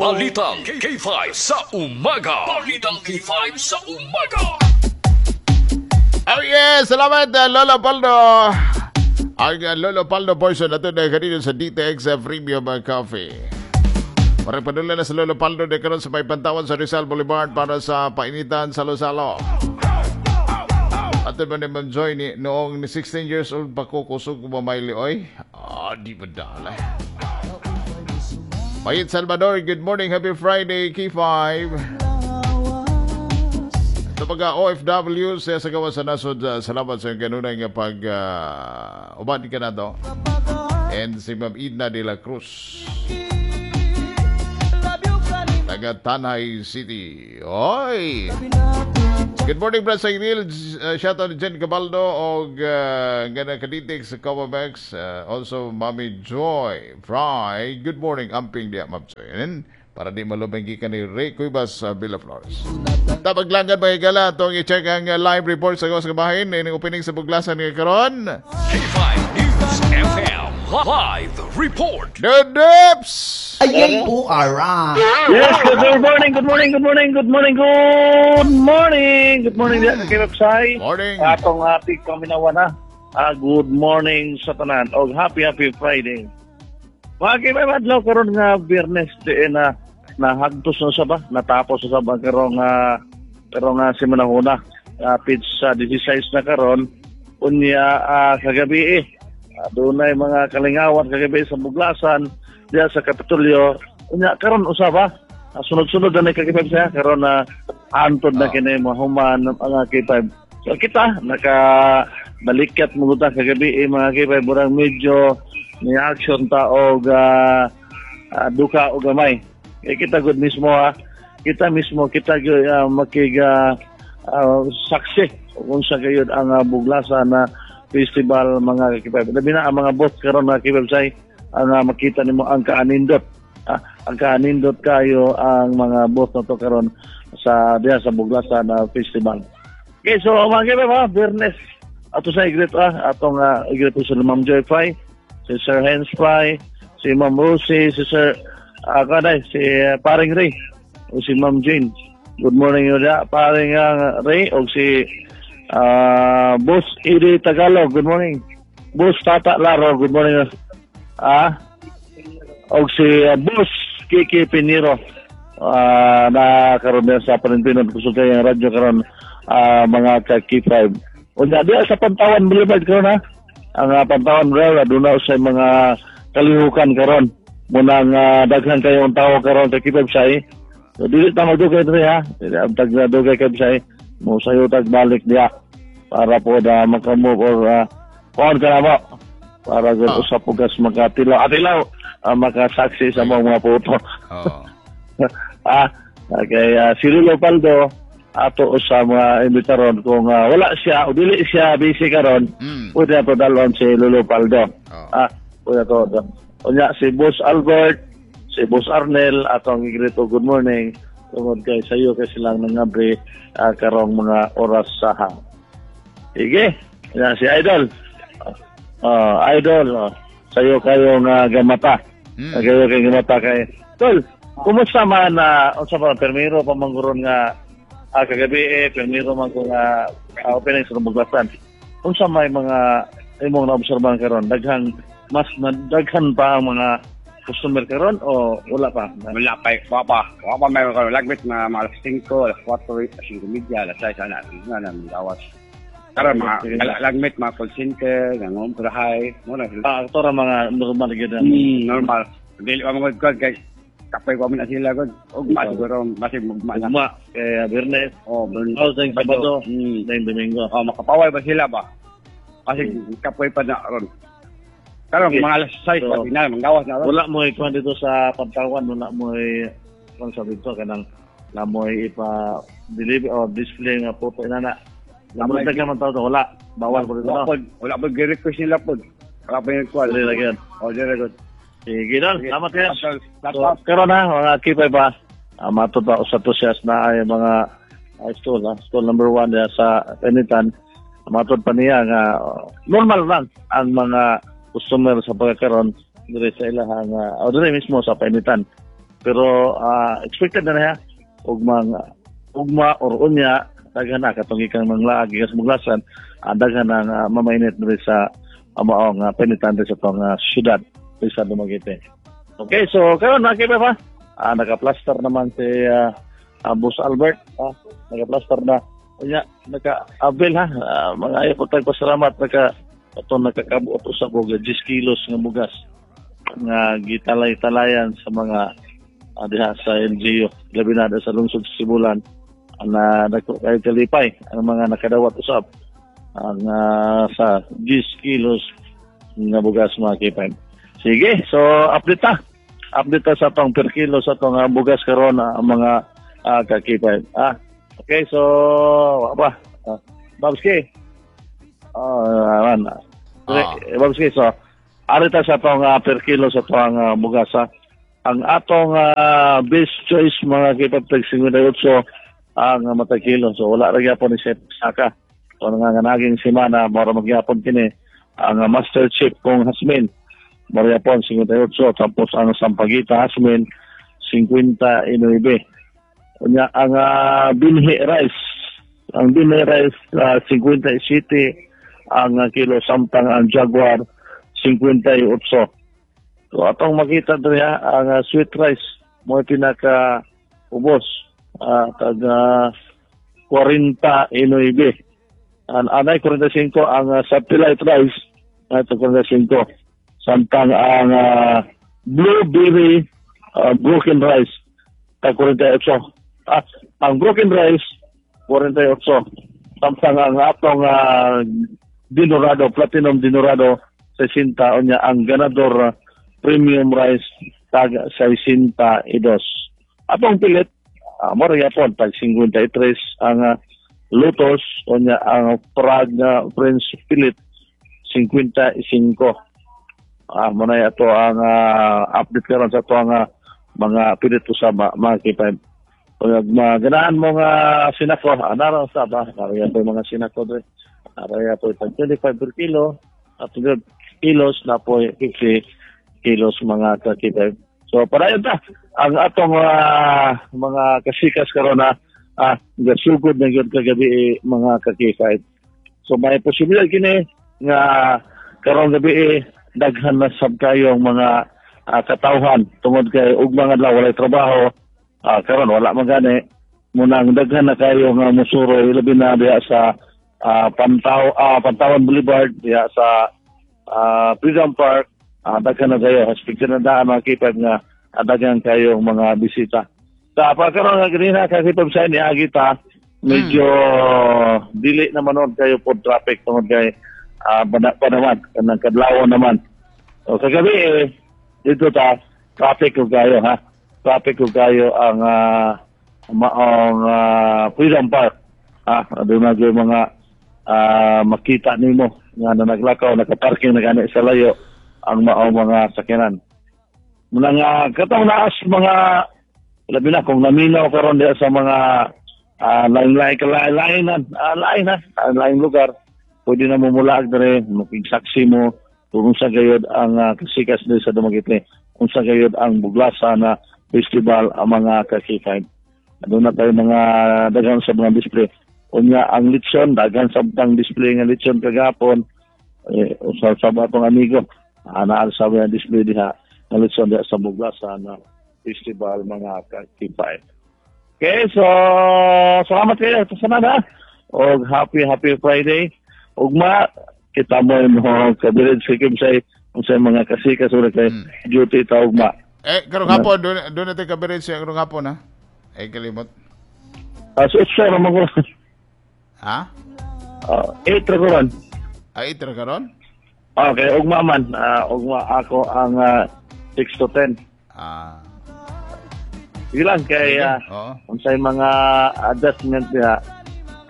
Balitang K5 sa umaga. Balitang K5 sa umaga. Oh yes, salamat, Lolo Paldo. Ang Lolo Paldo portion nato na kanino sa DTX Premium Coffee. Para padula na sa Lolo Paldo de karon sa may Pantawan sa Rizal Boulevard para sa painitan salo-salo. Ato ba ni Ma'am Joy ni noong 16 years old pa ko, kusog ko mamayli oy. Ah, di ba dala. Mayit Salvador, good morning, happy Friday, K5. Ito pagka OFW sa gawa sa nasod, salamat sa iyong kanunay nga pag uban ka na to. And si Ma'am Idna de la Cruz. Taga Tanay City. Oy! Good morning, Brad Sayril. Shout out to Jen Cabaldo og gana kaditik sa Comamex. Also, Mami Joy Fry. Good morning, amping diya, Ma'am Joy. And para di malubeng ka ni Ray Cuevas sa Villaflores. Tabaglangan mga higala, itong i-check ang live report sa gawas nga bahin. Ining opening sa Buglasan nga karon. K5 News FM Live Report. The Dips! Ay, oh, alright. Yes, good morning, good morning, good morning, good morning, good morning. Good morning diyan kay Website. Morning. Atong ating paminawan na. Good morning sa tanan. Og happy happy Friday. Mga kay adlaw karon nga Biyernes diin na nahagtos na sa ba, natapos na sa ba karong karong nga semana. Pitch sa 16 na karon unya kagabi eh. Dunay mga kalingawan kagabi sa Buglasan diya sa Kapitolyo. Unya karon usaba sunod-sunod na ni K5 siya karon na antod na kini mahuman mga K5. So kita naka balikat mo ta kagabi eh, mga K5, murang medyo ni action ta og duka og gamay. Eh, kita gud mismo ha. Kita mismo kita gyud makig saksi kung sa gayud ang Buglasan na festival, mga K5. Labi na ang mga booth karon, mga K5 say, ang makita nimo ang kaanindot. Ang kaanindot kayo ang mga booth na to karon sa diha sa Buglasan na festival. Okay, so mga K5 ha, Biyernes ato sa i-greet atong i-greet sa Ma'am Joy Fry, si Sir Hens Fry, si Ma'am Rosie, si Sir kanay, si Paring Ray, o si Ma'am Jane. Good morning yun Paring Ray, o si Boss Edi Tagalog, good morning. Boss Tata Laro, good morning. O si Boss Kiki Piniro, na karon din sa Panintinon, kusog kayo ang radyo karon mga ka K5. Unya diya sa Pantawan Boulevard karon ha. Ang Pantawan Boulevard aduna sa mga kalihukan karon. Munang daghan kayo ang tao karon sa K5 say. So dili ta magdugay diri ha. Dili ang tag dugay kay say. Mo sayo tag balik diya para po na makamove or kuan ka na mo para gud usap ugas makatilaw atilaw makasaksi sa mga puto. Okay, si Lolo Paldo ato sa mga imbitaron kung wala siya o dili siya busy karon, pwede ato dalon si Lolo Paldo. Pwede ato. Unya si Boss Albert, si Boss Arnel atong i-greet og good morning tungod kay sayo kay silang nangabri karong mga oras sa ha. Sige, yan si Idol. Idol, sayo kayo nga gamata. Kayo kay gamata kay Tol, kumusta man na unsa pa permiro pa manguron nga kagabi eh permiro man ko nga opening sa Buglasan. Unsa may mga imong naobserbahan karon? Daghan mas na, daghan pa ang mga customer karon o wala pa? Wala pa, wala pa. Wala pa mayroon karon. Lagbit mga mga alas 5, alas 4, alas 5:30, alas 6, ana, na na gawas. Karon mga lagmit mga call center, nangumprahay, mo na sila. Ato ra mga normal gyud na. Normal. Dili pa mga good kay kapoy ko na sila god. Ugma siguro basig mugma na. Ugma kay Biyernes, Oh, Biyernes. oh, Sabado, then Domingo. Oh, makapaway ba sila ba? Kasi kapoy pa na ron. Karon mga alas 6 So, pati na manggawas na ron. Wala mo ikuan dito sa Pantawan, wala mo kuan sa dito kanang na mo ipa deliver or display nga photo inana. Wala ka man tao, wala. Bawal po dito. Wala No? pod, wala pod gi-request nila pod. Wala pa yung kuwan. Dili ra gyud. Oh, dili good. Sige dol, salamat kayo. Salamat. So, karon ha, mga kipay pa, matod pa sa tusyas na ay mga stall, stall number 1 diya sa Penitan. Matod pa niya nga normal lang ang mga customer sa pagkakaroon diri sa ilahang o diri mismo sa Penitan. Pero expected na niya ugmang ugma or unya daghan na katong ikang manglaag gikas Buglasan, daghan na mamainit diri sa maong penitan diri sa atong syudad diri sa Dumaguete. Okay, so karon na kay pa naka-plaster naman si Boss Albert, naka-plaster na. Unya naka-avail ha, mga ayaw po tayong pasalamat, naka ato nakakabuot usab og 10 kilos nga bugas nga gitalay-talayan sa mga diha sa LGU, labi na sa lungsod sa Sibulan, na dako kay kalipay ang mga nakadawat usab ang sa 10 kilos nga bugas, mga K5. Sige, so update ta. Update ta sa atong per kilo sa atong bugas karon, ang mga ka-K5. Okay, so apa? Babski. Man. Babski, so ari ta sa atong per kilo sa atong bugas ha. Ang atong best choice, mga K5, tag 58 ang matag kilo. So wala ra gyapon ni Chef Saka. So nanganaging semana mao ra magyapon kini ang Master Chief kong Hasmin. Mao gyapon 58, tapos ang Sampaguita Hasmin 59. Unya ang binhi rice, ang binhi rice 57 ang kilo, samtang ang Jaguar 58. So atong makita diri ha, ang sweet rice mo pinaka ubos, tag 49. An anay 45 ang satellite rice, ito 45. Samtang ang blueberry broken rice tag 48. Ang broken rice 48. Samtang ang atong Dinorado, Platinum Dinorado 60, unya ang Ganador Premium Rice tag 62. Atong pilit mo ra gyapon tag 53 ang Lotus, unya ang Prague Prince Pilit 55. Mo na ato ang update karon sa ato ang mga pilit usab, mga K5. Kung maganahan mo nga sinako, anara sa ba, nara po mga sinako dre. Nara po tag 25 per kilo, at 100 kilos na po 50 kilos, mga ka-K5. So padayon ta ang atong mga kasikas karon na gasugod na gyud kagabi eh, mga ka-K5. So may posibilidad kini nga karong gabi eh, daghan na sab kayo ang mga katawhan tungod kay ugma nga adlaw walay trabaho, karon wala man gani munang daghan na kayo nga musuroy, labi na diha sa Pantawan Boulevard, diha sa Freedom Park, daghan na kayo expected na daan, mga K5, nga daghan kayo mga bisita sa pagkaroon nga ganina kasi pag sa ni agita medyo dili naman noon kayo po traffic tungod kay bana pa naman kanang kadlawon naman. O kagabi eh, dito ta traffic ko kayo ha, traffic ko kayo ang maong Freedom Park ha, doon na yung mga makita nimo nga na naglakaw, nakaparking na gani sa layo ang maong mga sakyanan. Muna nga katong naas mga labi na kung naminaw karon diha sa mga lain-lain lain lain na lain lugar, pwede na mumulaag dire, makigsaksi mo kung unsa gayud ang kasikas diri sa Dumaguete, unsa gayud ang Buglasa na festival, ang mga ka-K5. Doon na tayo mga daghan sa mga display. Unya ang litson, daghan sa tang display nga litson kagapon, eh, usa sa atong amigo naa sa mga display diha nga litson diha sa Buglasa na festival, mga ka-K5. Okay, so salamat kayo sa tanan ha. Og happy happy Friday. Ugma kita mo mo kabilid sa Kimsay unsay mga kasikas ura kay duty ta ugma. Eh, karong hapon doon natin kabirin siya karong hapon ha. Eh kalimot. So it's ra man ko. Ha? 8 ra karon. Ay, 8 ra karon? Okay, ugma man. Ugma ako ang 6 to 10. Sige lang kay unsay mga adjustment diha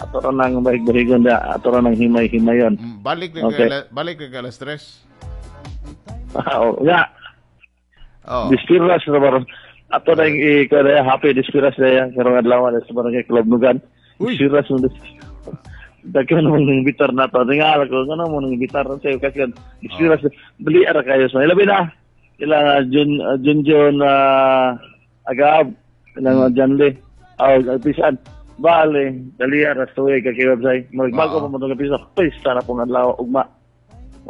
ato ra nang bahig-bahigon diha, ato ra nang himay-himayon. Balik na Okay. Balik ka alas 3. Oh, nga. Oh. Dispiras na baron. Ato na yung i happy dispiras na yan. Karong adlaw na sa barangay Club Nugan. Dispiras mo. Daghan mo nang bitar na to. Tingala ko, ano mo nang bitar na sa'yo kasi dispiras. Bali ara kayo sa. Ilabi na. Ila Jun Jun Jun Agab ilang Janle aw pisan bale daliya ra tuig ka website magbago pa mo tong pista pista na pong adlaw ugma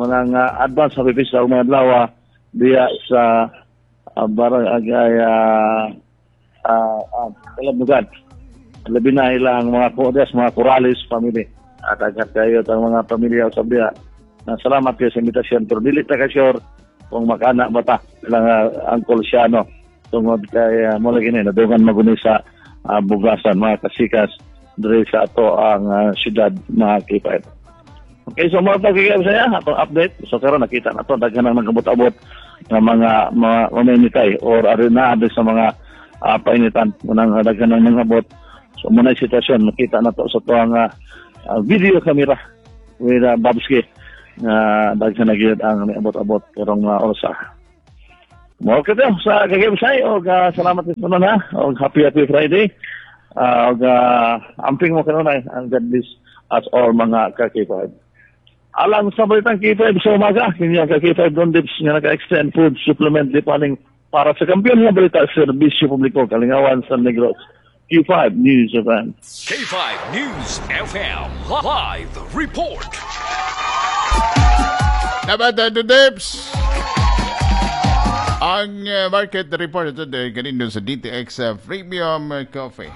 unang advance happy pista ugma adlaw diya sa barangay Kalabugan. Labi na ilang mga Cordes, mga Corrales family at agad kayo ang mga pamilya sa diya. Na salamat kayo sa imbitasyon pero dili ta ka sure kung makana ba ta ilang Uncle Siano tungod kay mo lagi ni nadungan maguni sa bugasan mga kasikas diri sa ato ang syudad mga K5. Okay, so mga pagkikab saya atong update. So karon nakita na to daghan ang nagabot-abot ng mga mamimikay or arena sa mga painitan unang daghan ang nangabot. So muna sitwasyon nakita na to sa tuang video camera with Babski na daghan na gyud ang niabot-abot karong orasa. Mo kato sa kagibsay og salamat sa tanan ha og happy happy Friday. Og amping mo kanunay ang God bless us all mga ka-K5. Alang sa balitang K5 sa umaga, kini ang ka-K5 Don Dips nga naka-extend food supplement lipaning para sa kampiyon nga balita serbisyo publiko Kalingawan sa Negros. K5 News FM. K5 News FM Live Report. Dapat Don Dips. Ang market report ito kanino sa DTX Premium Coffee.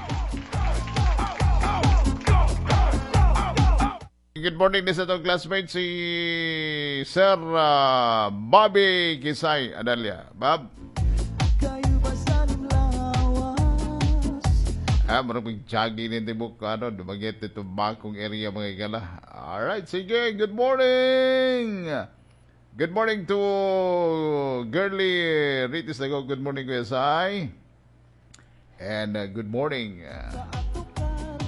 Good morning din sa itong classmate si Sir Bobby Kisay Adalia. Bob? Marang jogging din tibok ano, dumagit ito bakong area mga igala. Alright, sige, good morning! Good morning to Girly Ritis Lago. Good morning, Kuya Sai. And good morning.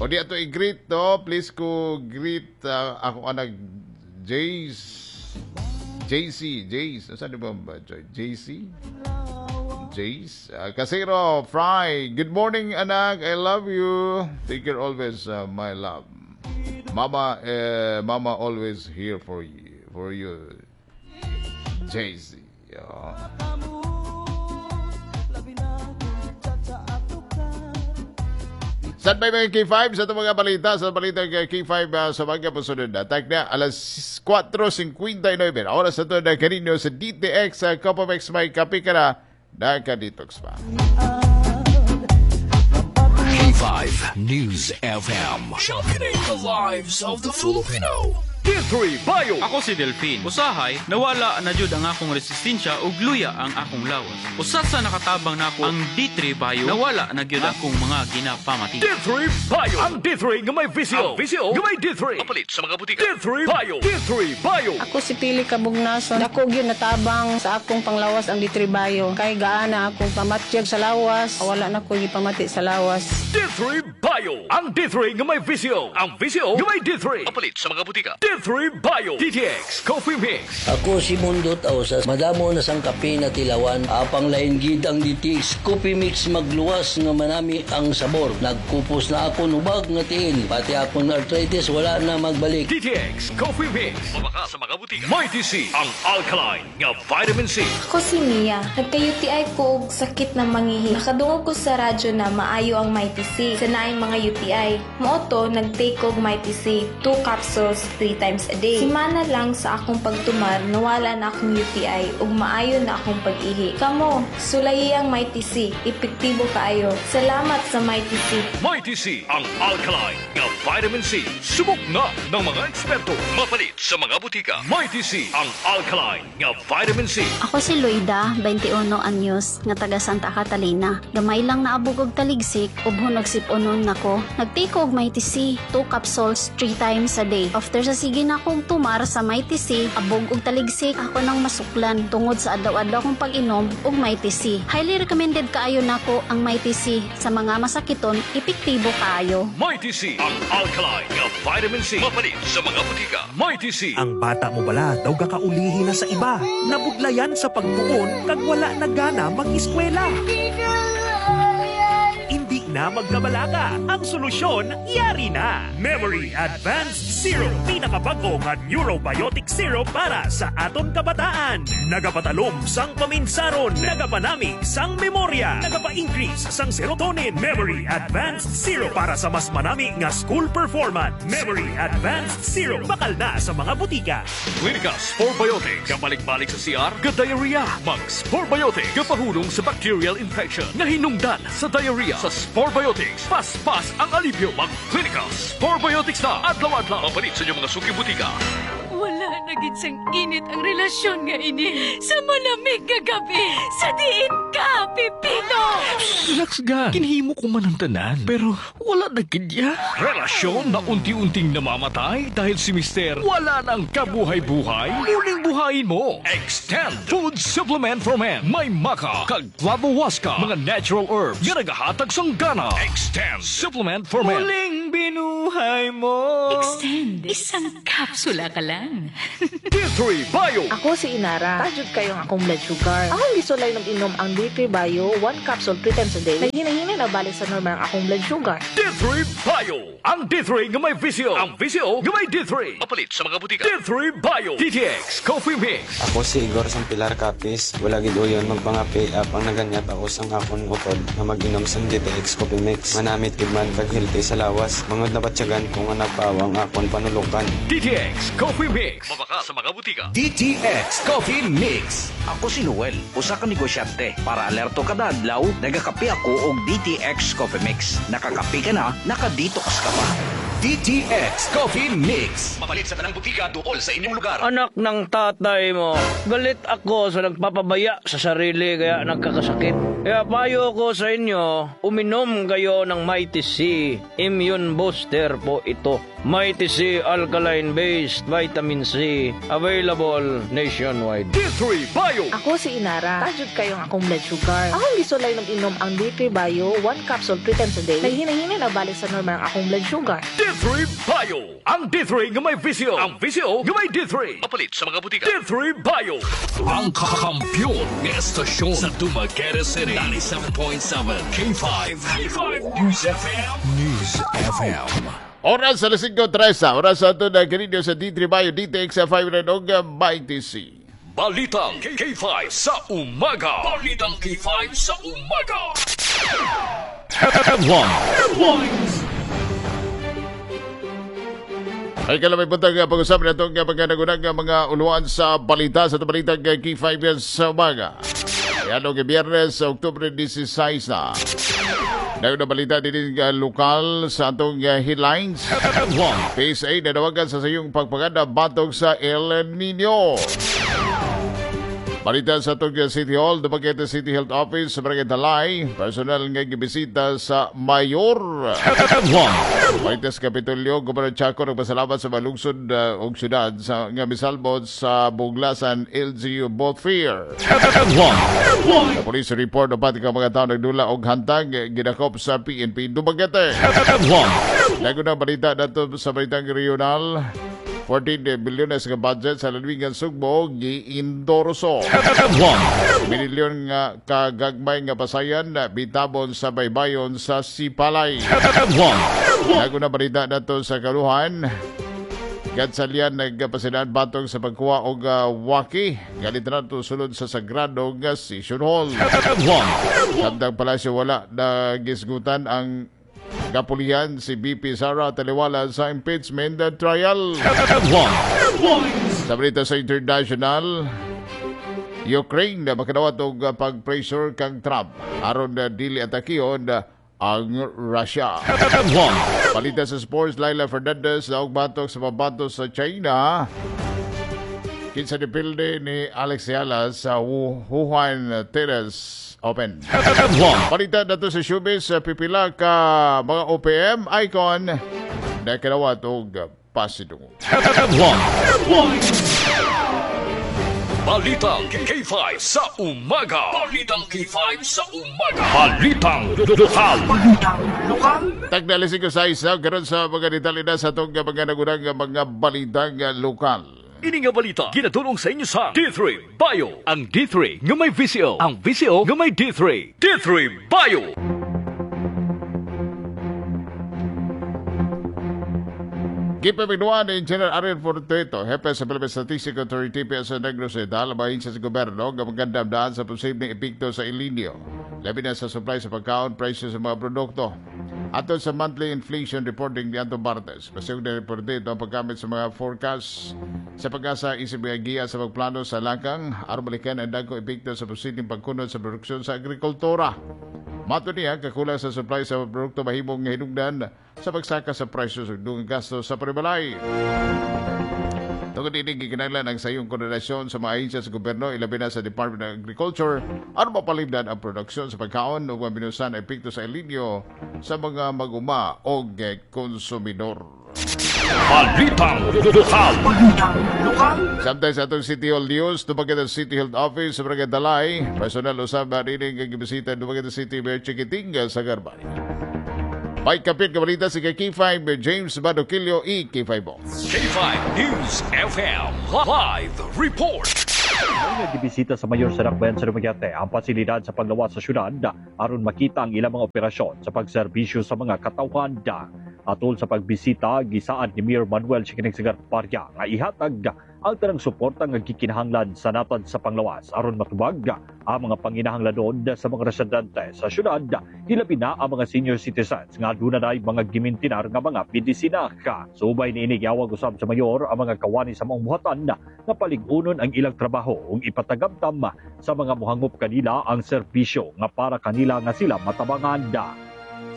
O di ato i-greet to. Please ko greet ako anak Jace. JC. Jace. Saan ba? JC? Jace. Casero Fry. Good morning, anak. I love you. Take care always, my love. Mama, Mama always here for you. For you. JC. Yeah. Saan ba yung K5? Sa itong mga balita, sa balita ng K5 sa mga pasunod na. Tag na, alas 4:59. Oras na ito na kanino sa DTX, Copamex, may kape ka na, naka-detox pa. K5 News FM. Championing the lives of the Filipino. D3 Bio. Ako si Delphine. Usahay, nawala na jud ang akong resistensya ug luya ang akong lawas. Usa sa nakatabang nako ang D3 Bio, nawala na gyud akong mga ginapamati. D3 Bio. Ang D3 nga may VCO. Ang VCO nga may D3. Kapalit sa mga butika. D3 Bio. D3 Bio. Ako si Pili Kabugnason. Dako gyud natabang sa akong panglawas ang D3 Bio. Kay gaana akong pamatyag sa lawas, wala na ko gipamati sa lawas. D3 Bio. Ang D3 nga may VCO. Ang VCO nga may D3. Kapalit sa mga butika. D3 Bio. DTX Coffee Mix. Ako si Mundo Tausas. Madamo na sang kape na tilawan. Apang lain gid ang DTX Coffee Mix magluwas nga manami ang sabor. Nagkupos na ako nubag nga tiil. Pati akong arthritis wala na magbalik. DTX Coffee Mix. Mabaka sa mga butika. Mighty C. Ang alkaline nga vitamin C. Ako si Mia. Nagka-UTI ko og sakit na mangihi. Nakadungog ko sa radyo na maayo ang Mighty C sa naay mga UTI. Mao to nag-take og Mighty C. 2 capsules 3 times a day. Simana lang sa akong pagtumar, nawala na akong UTI ug maayo na akong pag-ihi. Kamo, sulayi ang Mighty C. Epektibo kaayo. Salamat sa Mighty C. Mighty C, ang alkaline nga vitamin C. Subok na ng mga eksperto. Mapalit sa mga butika. Mighty C, ang alkaline nga vitamin C. Ako si Loida, 21 anyos, nga taga Santa Catalina. Gamay lang naabog og taligsik, ubhon og sip-onon nako. Nagtake og Mighty C, 2 capsules 3 times a day. After sa sige na akong tumar sa Mighty C, abog og taligsik, ako nang masuklan tungod sa adlaw-adlaw kong pag-inom og Mighty C. Highly recommended kaayo nako ang Mighty C sa mga masakiton, epektibo kaayo. Mighty C, ang alkaline nga vitamin C. Mapalit sa mga butika. Mighty C. Ang bata mo bala daw gakaulihi na sa iba. Nabudlayan sa pagtuon kag wala na gana mag-eskwela. Hindi na. na magkabalaka. Ang solusyon, yari na. Memory Advanced Syrup. Pinakabago nga neurobiotic syrup para sa aton kabataan. Nagapatalom sang paminsaron. Nagapanami sang memorya. Nagapa-increase sang serotonin. Memory Advanced Syrup para sa mas manami nga school performance. Memory Advanced Syrup. Bakal na sa mga butika. Clinica Sporebiotic. Kabalik-balik sa CR, ga-diarrhea. Mag Sporebiotic. Gapahulong sa bacterial infection. Nahinungdan sa diarrhea. Sa Sporebiotics, paspas ang alipyo. Mag Clinica Sporebiotics na. Adlaw-adlaw. Mapalit sa inyong mga suki butika. Wala na gid sang init ang relasyon nga ini. Sa malamig nga gabi, sa diin ka, Pipino! Relax ga. Kinhimo ko man ang tanan. Pero wala na gid ya. Relasyon na unti-unting namamatay dahil si Mister wala nang kabuhay-buhay. Muling buhayin mo. Extend Food Supplement for Men. May maka, kag clavohuasca, mga natural herbs nga nagahatag sang gana. Extend Supplement for Men. Muling binuhay mo. Extend. Isang kapsula ka lang. D3 Bio. Ako si Inara. Tajud kayo ang akong blood sugar. Akong gisulay ng inom ang D3 Bio, 1 capsule 3 times a day. Naghinahina na balik sa normal ang akong blood sugar. D3 Bio. Ang D3 nga may VCO. Ang VCO nga may D3. Mapalit sa mga butika. D3 Bio. DTX Coffee Mix. Ako si Igor sang Pilar Capiz. Wala gid uyon magpangapi apang naganyat ako sang akon utod nga mag-inom sang DTX Coffee Mix. Manamit gid man kag healthy sa lawas. Mangod nabatyagan ko nga nagpawang akon panulukan. DTX Coffee Mix. Mabaka sa mga butika. DTX Coffee Mix. Ako si Noel, usa ka negosyante. Para alerto kada adlaw, nagakape ako og DTX Coffee Mix. Nakakape ka na, naka-detox ka pa. DTX Coffee Mix. Mapalit sa tanang butika duol sa inyong lugar. Anak ng tatay mo, galit ako sa nagpapabaya sa sarili kaya nagkakasakit. Kaya payo ko sa inyo, uminom kayo ng Mighty C. Immune booster po ito. Mighty C Alkaline-Based Vitamin C. Available nationwide. D3 Bio. Ako si Inara. Tajud kayo ang akong blood sugar. Akong gisulay ng inom ang D3 Bio, 1 capsule 3 times a day. Naghinahina na balik sa normal ang akong blood sugar. D3 Bio. Ang D3 nga may VCO. Ang VCO nga may D3. Mapalit sa mga butika. D3 Bio. Ang kakampiyon nga estasyon sa Dumaguete City. 97.7 K5. K5 News FM. News FM. Oras alas 5:30. Oras sa ato na kanino sa D3 Bio, DTX 5 og Mighty C. Balitang K5 sa umaga. Balitang K5 sa umaga. Headlines. Ay kalamay buntag pag-usap na itong pagkanagunang mga uluan sa balita sa balitang K5 sa umaga. Yan og Biyernes, Oktubre 16 na. Dayon na balita din lokal sa atong headlines. PSA nanawagan sa sayong pagpaganda batog sa El Nino. Balita sa atong City Hall, Dumaguete City Health Office sa Barangay Talay, personal nga gibisita sa Mayor. Balita sa Kapitolyo, Gobernador Chaco nagpasalamat sa malungsod og syudad sa nga misalbot sa Buglasan LGU Both Fear. Sa police report, upat ka mga tao nagdula og hantang gidakop sa PNP Dumaguete. Dayon na balita nato sa balitang regional. 14 bilyones nga budget sa Lalawigan Sugbo giindorso. Milyon nga kagagmay nga pasayan bitabon sa baybayon sa Sipalay. Dagon na balita nato sa Kaluhan. Gadsalian nagpasidaan batong sa pagkuha og waki. Galit na sulod sa Sagrado nga Session Hall. Samtang palasyo wala na gisgutan ang kapulihan si BP Sara Taliwala sa impeachment trial. Sa balita sa international, Ukraine na makadawat og pag-pressure kang Trump aron na dili atakiyon ang Russia. Balita sa sports, Laila Fernandez naog batok sa pabato sa China. Kinsa dipilde ni Alex Ayala sa Wuhan Tennis Open. Balita nato sa showbiz, pipila ka mga OPM icon na kadawat og pasidungog. Balitang K5 sa umaga. Balitang K5 sa umaga. Balitang lokal. Balitang lokal. Tagdalisig ko sa isa karon sa mga detalye na sa atong mga nagunang mga balitang lokal. Ini nga balita ginatulong sa inyo sa D3 Bio. Ang D3 nga may VCO. Ang VCO nga may D3. D3 Bio. Gipamignuan ni Engineer Ariel Fortuito, hepe sa Philippine Statistics Authority PSA Negros Oriental, ang sa gobyerno nga magandamdaan sa posibleng epekto sa El Nino, labi na sa supply sa pagkaon, presyo sa mga produkto. Ato sa monthly inflation reporting ni Anton Bartes, pasig na report dito ang paggamit sa mga forecast sa PAGASA isip giya sa pagplano sa lakang aron balikan ang dagkong epekto sa posibleng pagkunod sa produksyon sa agrikultura. Mato niya, kakulang sa supply sa produkto mahimong hinungdan sa pagsaka sa presyo sa dugang gasto sa panimalay. Tungod ini, gikinahanglan ang sayong koordinasyon sa mga ahensya sa gobyerno, ilabi na sa Department of Agriculture, aron mapalimdan ang produksyon sa pagkaon ug mabinusan ang epekto sa El Nino sa mga mag-uma o konsumidor. Balitang Lokal. Lokal. Samtang sa atong City Hall News, Dumaguete City Health Office sa Barangay Dalay, personal usab nining gibisita Dumaguete City Mayor Chiquiting Sagarbarria. May kapit kabalita si K5 James Badoquillo e K5 Bo. K5 News FM Live Report. May nagibisita sa mayor sa Dakbayan sa Dumaguete ang pasilidad sa panglawas sa syudad aron makita ang ilang mga operasyon sa pagserbisyo sa mga katawhan. Atol sa pagbisita, gisaad ni Mayor Manuel Chiquiting Sagarbarria nga ihatag ang tanang suporta nga gikinahanglan sa natad sa panglawas aron matubag ang mga panginahanglanon sa mga residente sa syudad, hilabi na ang mga senior citizens nga aduna na mga gimintinar nga mga medisina. Subay niini, giawag usab sa mayor ang mga kawani sa maong buhatan nga palig-unon ang ilang trabaho ug ipatagamtam sa mga muhangop kanila ang serbisyo nga para kanila nga sila matabangan.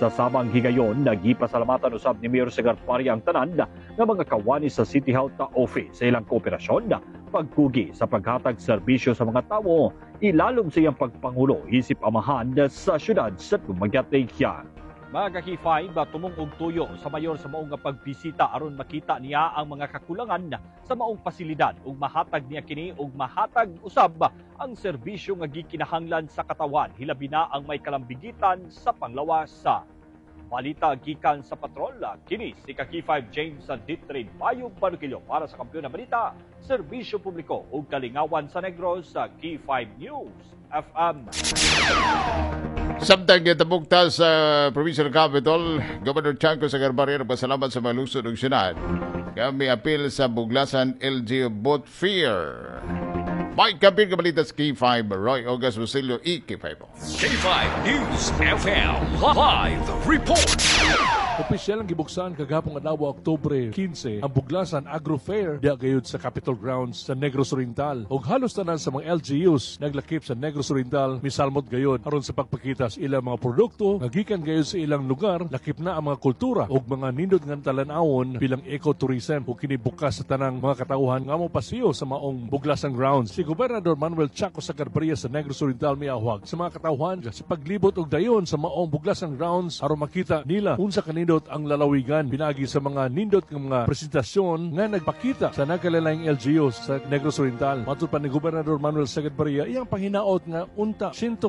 Sa samang higayon, nagipasalamatan usab ni Mayor Sagarbarria ang tanan nga mga kawani sa City Health Office sa ilang kooperasyon, pagkugi sa paghatag serbisyo sa mga tawo, ilalom sa iyang pagpangulo isip amahan sa syudad sa Dumaguete. Mga ka-K5, tumong og tuyo sa mayor sa maong nga pagbisita aron makita niya ang mga kakulangan sa maong pasilidad ug mahatag niya kini ug mahatag usab ang serbisyo nga gikinahanglan sa katawan, hilabi na ang may kalambigitan sa panglawas. Sa balita gikan sa patrol, kini si ka-K5 James Ditrin Bayog Banuquillo para sa Kampeon na Balita, serbisyo publiko ug kalingawan sa Negros sa K5 News FM. Samtang gitabukta sa Provincial Capitol, Governor Chanco Sagarbarria nagpasalamat sa mga lungsod ug syudad. Kami apil sa Buglasan LG Boat Fair. Mike Kapil kabalita sa K5, Roy August Basilio, EK5. K5 News FM Live Report. Opisyal ang gibuksan kagahapon adlaw, Oktubre 15, ang Buglasan Agro Fair diha gayud sa Capitol Grounds sa Negros Oriental. Ug halos tanan sa mga LGUs naglakip sa Negros Oriental misalmot gayud aron sa pagpakita sa ilang mga produkto nga gikan gayud sa ilang lugar, lakip na ang mga kultura ug mga nindot nga talan-awon bilang ecotourism, ug kini bukas sa tanang mga katawhan nga mopasiyo sa maong Buglasan Grounds. Si Gobernador Manuel Chaco Sagarbarria sa Negros Oriental miawhag sa mga katawhan sa paglibot og dayon sa maong Buglasan Grounds aron makita nila unsa kanindot ang lalawigan pinagi sa mga nindot nga mga presentasyon nga nagpakita sa nagkalain LGUs sa Negros Oriental. Matud pa ni Gobernador Manuel Sagarbarria, iyang panghinaot nga unta 100%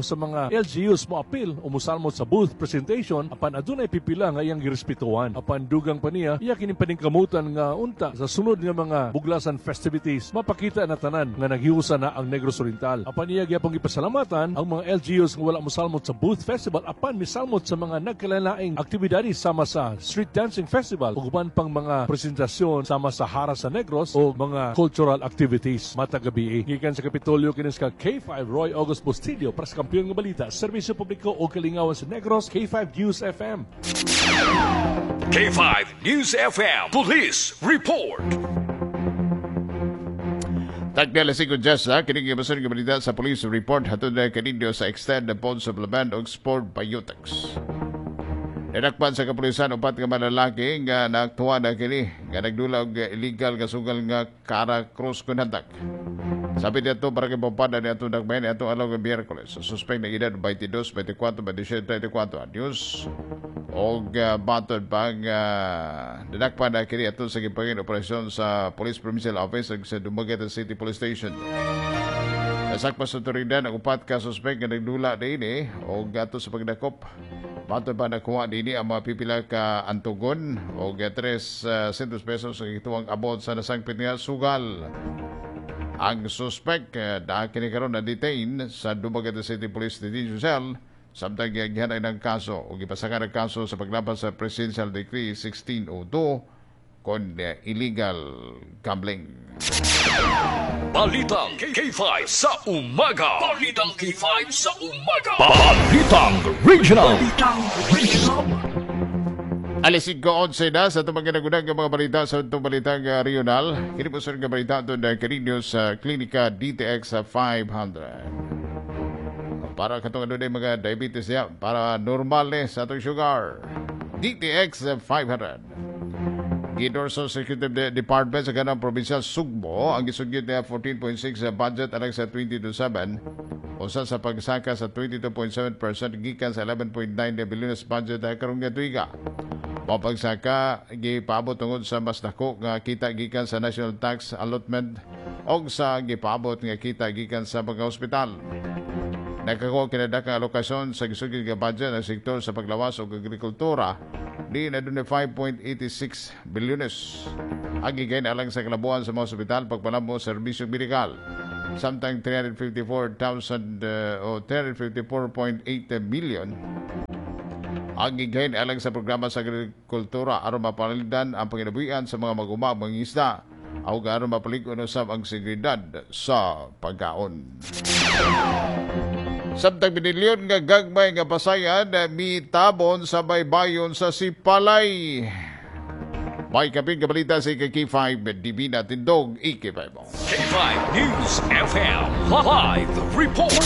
sa mga LGUs moapil o mosalmot sa booth presentation, apan adunay pipila nga iyang girespetuhan. Apan dugang pa niya, iya kining paningkamutan nga unta sa sunod nga mga Buglasan festivities mapakita na tanan nga naghiusa na ang Negros Oriental. Apan iya gyapon gipasalamatan ang mga LGUs nga wala mosalmot sa booth festival apan misalmot sa mga nagkalalaing aktibidades sama sa Street Dancing Festival ug uban pang mga presentasyon sama sa Hara sa Negros o mga cultural activities matag gabi. Gikan sa Kapitolyo, kini sa K5 Roy August Bustillo para sa Kampeon nga Balita, serbisyo publiko o kalingawan sa Negros, K5 News FM. K5 News FM Police Report. Tagdi alas 5 diyas na, kining gibason nga balita sa police report hatod na kaninyo sa Extend Bone Supplement og Sport Biotics. Ninakpan sa kapulisan upat ka mga nga naaktuwa na kini nga nagdula og illegal nga sugal nga Cara Cruz kun hantak. Sabi dito para kay Pampanga ni atong dakbayan ni atong adlaw nga Biyerkules. Sa suspect na edad 22, 24, 27, 34 anyos. Og batod pang dinakpan na kini ato sa gipangin operasyon sa Police Provincial Office ug sa Dumaguete City Police Station. Nasakpa sa otoridad ang upat ka suspect nga nagdula niini og ato sa pagdakop. Matod pa nakuha niini ang mga pipila ka antugon og 300 pesos sa gituwang abot sa nasangpit nga sugal. Ang suspect uh, kini karon na detain sa Dumaguete City Police Detention Cell samtang giagyan ng kaso o gipasakan ang kaso sa paglapas sa Presidential Decree 1602. kon illegal gambling. Balitang K5 sa umaga. Balitang K5 sa umaga. Balitang Regional. Balitang Regional. Alas 5:11 na sa itong mga nagunang mga balita sa itong balitang regional. Kini po sa nga balita ito na kaninyo sa Klinika DTX 500. Para katong ano mga diabetes niya, para normal ni sa itong sugar. DTX 500. Gidorso sa Executive Department sa kanang probinsya Sugbo ang gisugyot niya 14.6 budget alang sa 2027 usa sa pagsaka sa 22.7% gikan sa 11.9 bilyones budget karong nga tuiga. Mao pagsaka gipaabot tungod sa mas dako nga kita gikan sa national tax allotment og sa gipaabot nga kita gikan sa mga ospital. Nakakuha kinadakang alokasyon sa gisugyot nga budget ang sektor sa paglawas og agrikultura di na dunay 5.86 bilyones. Ang gigain alang sa kalabuan sa mga ospital pagpanamo sa serbisyong medikal. Samtang 354,000 o 354.8 million ang gigain alang sa programa sa agrikultura aron mapalildan ang panginabuhian sa mga mag-uma mga isda o aron mapalig-on usab ang seguridad sa pagkaon. Samtang binilyon nga gagmay nga pasayan mitabon sa baybayon sa Sipalay. May kapin kabalita sa K5 Divina Tindog, IK5. K5 News FM Live Report.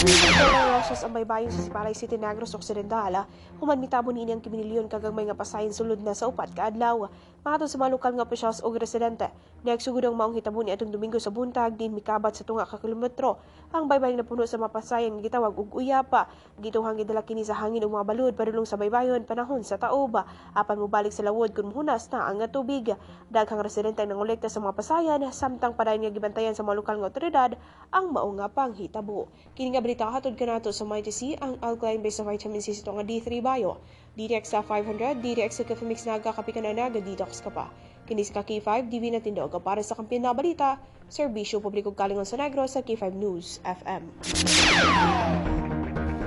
Rosas ang baybayon sa Sipalay City, Negros Occidental. Human mitabon niini ang kiminilyon kagagmay nga pasayan sulod na sa upat ka adlaw. Mahatod sa mga lokal nga opisyals og residente. Nagsugod ang maong hitabo ni atong Domingo sa buntag din mikabat sa tunga ka kilometro. Ang baybayon napuno sa mga pasayan nga gitawag og uyapa. Gituhang gidala kini sa hangin ug mga balud padulong sa baybayon panahon sa taob. Apan mobalik sa lawod kun muhunas na ang tubig. Daghang residente ang nangolekta sa mga pasayan samtang padayon nga gibantayan sa mga lokal nga otoridad ang mao nga panghitabo. Kini nga balita hatod kanato sa Mighty C, ang alkaline based sa vitamin C sa nga D3 Bio. DTX 500, DTX sa Coffee Mix nagkakapi ka na naga-detox ka pa. Kini sa K5, Divina Tindog para sa Kampiyon na Balita, Serbisyo Publiko Kalingon sa Negros sa K5 News FM.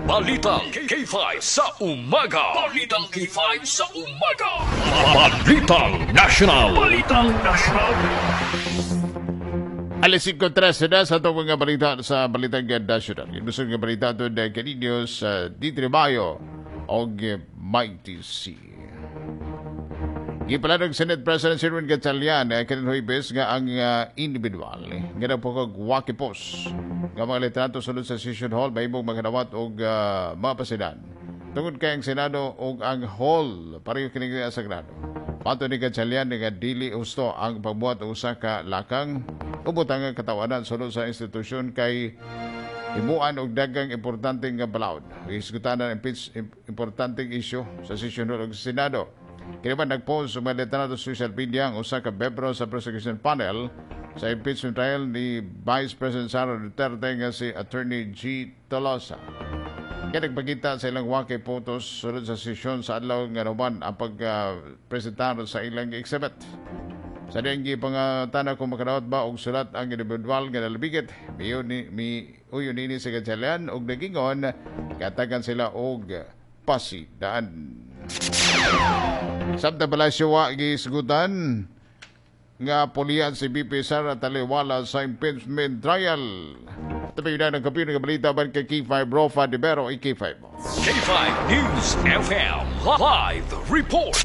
Balitang K5 sa umaga. Balitang K5 sa umaga. Balitang National. Balitang National. Alas 5:13 na sa itong mga balita sa Balitang National. Gusto nga balita ito na kaninyo sa D3 Mayo og Mighty C. Gipalan ng Senate President Sherwin Gatchalian kanin Huwebes nga ang individual nga nagpukog waki post nga mga litrato sulod sa session hall mahimong makanawat og mga pasidan. Tungod kay ang Senado og ang hall pareho kini sagrado. Pato ni Gatchalian nga dili husto ang pagbuhat og usa ka lakang ubotang ang katawanan sulod sa institusyon kay himuan og daghang importante nga balaod. Hisgutan ang importanteng isyu sa session hall og Senado. Kini man nagpost sa mga litrato sa social media ang usa ka membro sa prosecution panel sa impeachment trial ni Vice President Sara Duterte nga si Attorney G. Tolosa. Kaya nagpakita sa ilang waki photos sulod sa sesyon sa adlaw nga naman ang pagpresentar sa ilang exhibit. Sa diyang gipangutana kung makadawat ba og sulat ang individual nga nalabigit, miuyon nini sa Gatchalian og nagingon katagan sila og pasidaan. Samtang palasyo wa gisgutan nga pulian si BP Sara taliwala sa impeachment trial. Tabi na ng kapin ng balita ban kay K5 Rofa de Vero, K5. K5 News FM Live Report.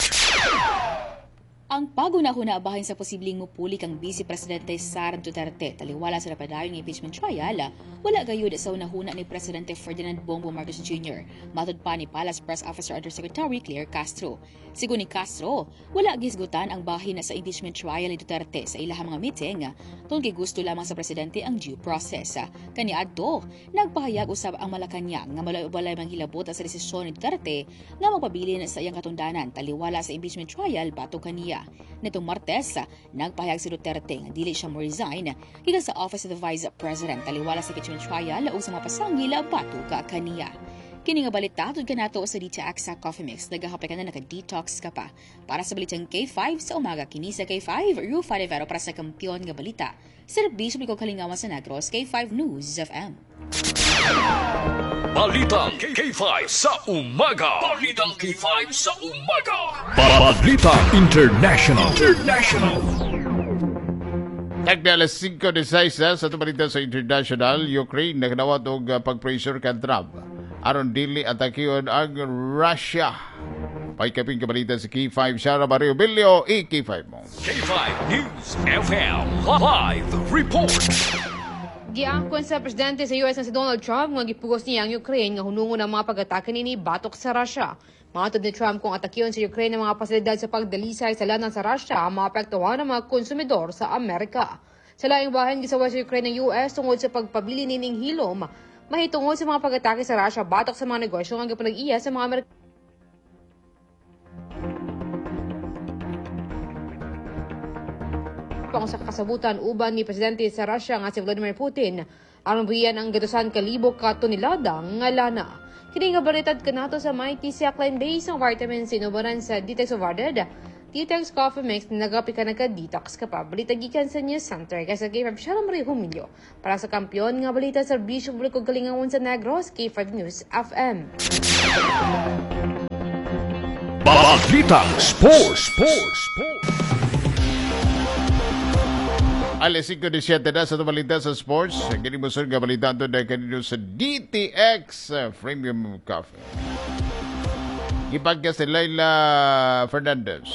Ang pagunahuna bahin sa posibleng mupuli kang Vice Presidente Sara Duterte taliwala sa napadayong impeachment trial, wala gayud sa unahuna ni Presidente Ferdinand Bongbong Marcos Jr. Matod pa ni Palace Press Officer Undersecretary Claire Castro. Sigon ni Castro, wala gisgutan ang bahin sa impeachment trial ni Duterte sa ilahang mga meeting tungod kay gusto lamang sa presidente ang due process. Kaniadto, nagpahayag usab ang Malacañang nga walay manghilabot sa desisyon ni Duterte nga magpabilin sa iyang katundanan taliwala sa impeachment trial batok kaniya. Nitong Martes, nagpahayag si Duterte nga dili siya mo resign gikan sa Office of the Vice President taliwala sa impeachment trial ug sa mga pasangil batok kaniya. Kini nga balita tud kanato sa DTX sa Coffee Mix. Nagahapay ka na, naka-detox ka pa. Para sa Balitang K5 sa umaga, kini sa K5, Rufa Rivero para sa Kampiyon nga Balita. Serbisyo Publiko Kalingawan sa Negros, K5 News FM. Balitang K5 sa umaga. Balitang K5 sa umaga. Balitang International. International. Tagda alas 5:16 sa balita sa International, Ukraine nagnawat og pag-pressure kan Trump aron dili atakion ang Russia. Paikaping kabalita sa K5 Shara Mario Bilio, i-K5 mo. K5 News FM Live Report. Giangkon sa presidente sa US na si Donald Trump nga gipugos niya ang Ukraine nga hunungon ang mga pag-atake nini batok sa Russia. Matod ni Trump kung atakiyon sa Ukraine ang mga pasilidad sa pagdalisay sa lanan sa Russia, maapektuhan ang mga konsumidor sa Amerika. Sa laing bahin, gisaway sa Ukraine ng US tungod sa pagpabili nining hilom mahitungod sa mga pag-atake sa Russia batok sa mga negosyo nga gipanag-iya sa mga Amerikano. Sa kasabutan uban ni presidente sa Russia nga si Vladimir Putin aron buhian ang 100,000 ka tonelada nga lana. Kini nga balitad kanato sa Mighty C Alkaline Base ang vitamin C inubanan sa Detox Overded. Detox Coffee Mix na nagapi ka nagka-detox ka pa. Balita gikan sa News Center kay sa K5 Shara Maria Humilyo. Para sa kampiyon nga balita sa serbisyo publiko Kalingawan sa Negros, K5 News FM. Balitang Sports. Sports. Alas 5:17 na sa balita sa sports. Kini mo nga balita ito na kanino sa DTX Premium Coffee. Gipagka si Laila Fernandez.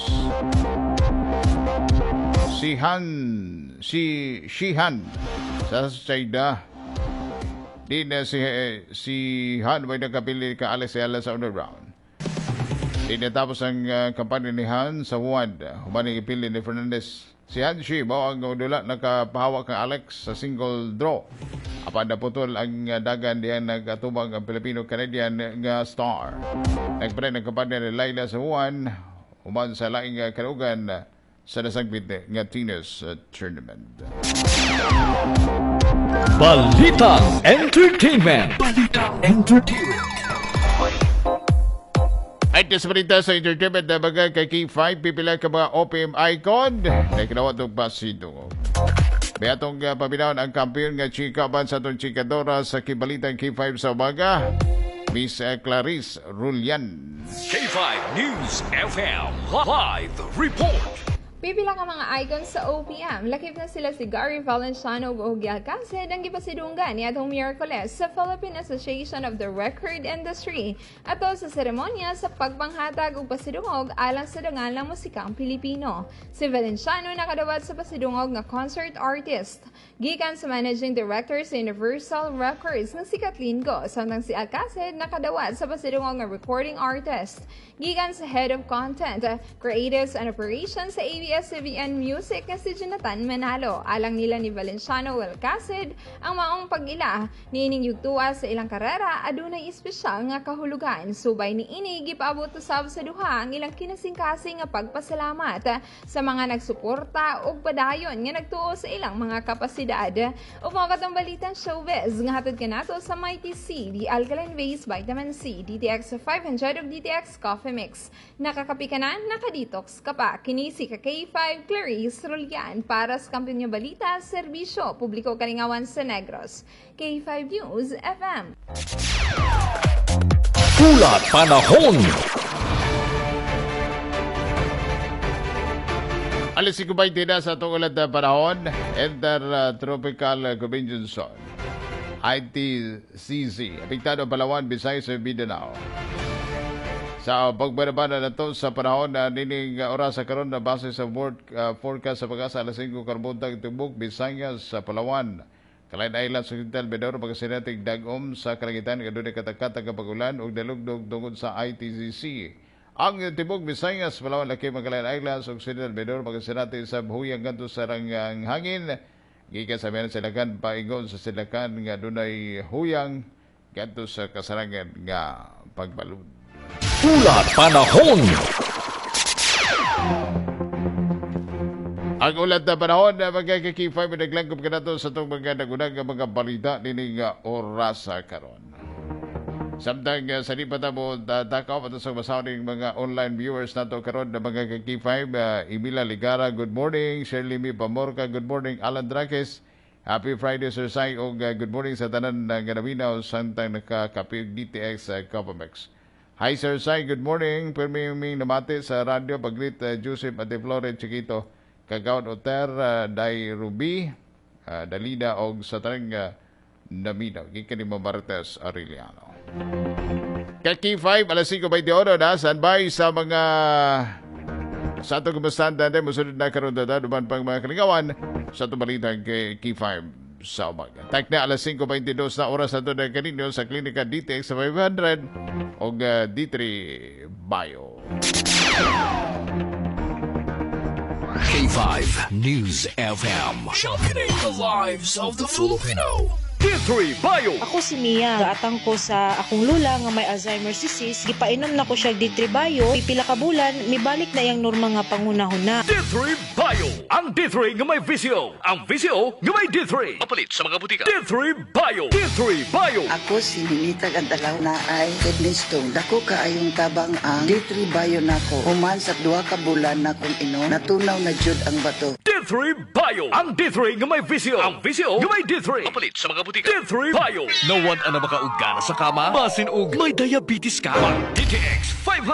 Si Shihan sa China. Di na si Han may nakapili ka Alex Ayala sa underground. Di natapos ang kampanya ni Han sa Wuhan. Humaning ipili ni Fernandez. Si Han Shi mao ang dula nakapahawak kang Alex sa single draw. Apan naputol ang dagan diyan nagatubang ang Filipino-Canadian nga star. Nagpre ng kampanya ni Laila sa Wuhan human sa laing kalugan sa nasangpit nga tennis tournament. Balitang Entertainment. Balitang Entertainment. At sa balita sa entertainment na bagay kay K5, pipila ka mga OPM icon na kinawat ng pasidungog. May atong paminaon ang kampiyon nga chika ban sa atong chikadora sa kibalitang K5 sa umaga, Miss Clarice Rulian. K5 News FM Live Report. Pipila ka mga icons sa OPM, lakip na sila si Gary Valenciano ug Ogie Alcacid ang gipasidunggan niadtong Miyerkules sa Philippine Association of the Record Industry ato sa seremonya sa pagpanghatag ug pasidungog alang sa dangal ng musikang Pilipino. Si Valenciano nakadawat sa pasidungog nga concert artist gikan sa managing director sa Universal Records nga si Kathleen Go, samtang si Alcacid nakadawat sa pasidungog nga recording artist gikan sa head of content, creatives and operations sa ABS-CBN Music nga si Jonathan Manalo. Alang nila ni Valenciano Alcacid ang maong pag-ila niining yugtua sa ilang karera adunay espesyal nga kahulugan. Subay niini gipaabot usab sa duha ang ilang kinasingkasing nga pagpasalamat sa mga nagsuporta ug padayon nga nagtuo sa ilang mga kapasidad. Ug mao katong balitang showbiz nga hatod kanato sa Mighty C, the alkaline base vitamin C, DTX 500 ug DTX Coffee Mix. Nakakapi ka na, nakadetox ka pa. Kini si K5 Clarice Rulian para sa Kampiyon nga Balita, Serbisyo Publiko Kalingawan sa Negros. K5 News FM. Ulat Panahon. Alas 5:20 na sa atong ulat na panahon. Enter Tropical Convention Zone. ITCZ. Apektado Palawan, Visayas, Mindanao. Sa pagbanabana na ito sa panahon na nining oras sa karon na base sa world forecast sa Pag-asa alas 5 karbuntag tibok Visayas sa Palawan. Calayan Islands sa Occidental Mindoro pagkasinatig dagom sa kalangitan kadunay katakatag nga pag-ulan ug dalugdog tungod sa ITCC. Ang tibok Visayas, Palawan, Lakip, Calayan Islands, Occidental Mindoro pagkasinati sa huyang ngadto sa rangang hangin gikan sa meron silakan paingon sa silakan nga dunay huyang ngadto sa kasarangan nga pagbalud. Ulat Panahon. Ang ulat na panahon na mga K5 naglangkob kanato sa itong mga nagunang mga balita nining orasa karon. Samtang sa di pa ta mo takaw ato sa masawning mga online viewers nato karon na mga ka-K5, Emila Ligara, good morning. Shirley Mi Pamorca, good morning. Alan Draques, happy Friday, Sir Sai, og good morning sa tanan nga naminaw samtang nakakapi og DTX Coffee Mix. Hi, Sir Sai, good morning. Pirmi ming namati sa radyo pag-greet Joseph Ate Flore Chiquito, Kagawad Oter, Day Ruby, Dalida og sa tanang naminaw. Gikan ni Marites Arellano. Ka-K5, alas 5:28 na, standby sa mga sa atong kumustahan dante, musunod na karon dada, duman pang mga kalingawan sa atong balitang kay K5 sa umaga. Tak na alas 5:22 na oras ato na kaninyo sa Klinika DTX sa 500 o D3 Bio. K5 News FM. Championing the lives of the Filipino. D3 Bio. Ako si Mia. Gaatang ko sa akong lula nga may Alzheimer's disease. Gipainom na ko siya D3 Bio. Pipila ka bulan, mibalik na iyang normal nga panghunahuna. D3 Bio. Ang D3 nga may VCO. Ang VCO nga may D3. Mapalit sa mga butika. D3 Bio. D3 Bio. Ako si Ninita Gantalaw na ay kidney stone. Dako kaayong tabang ang D3 Bio nako. Human sa 2 ka bulan na kong inom, natunaw na jud ang bato. D3 Bio. Ang D3 nga may VCO. Ang VCO nga may D3. Mapalit sa mga butika. D3 Bio. Nawad na makaugana sa kama? Basin og may diabetes ka? Mag DTX 500.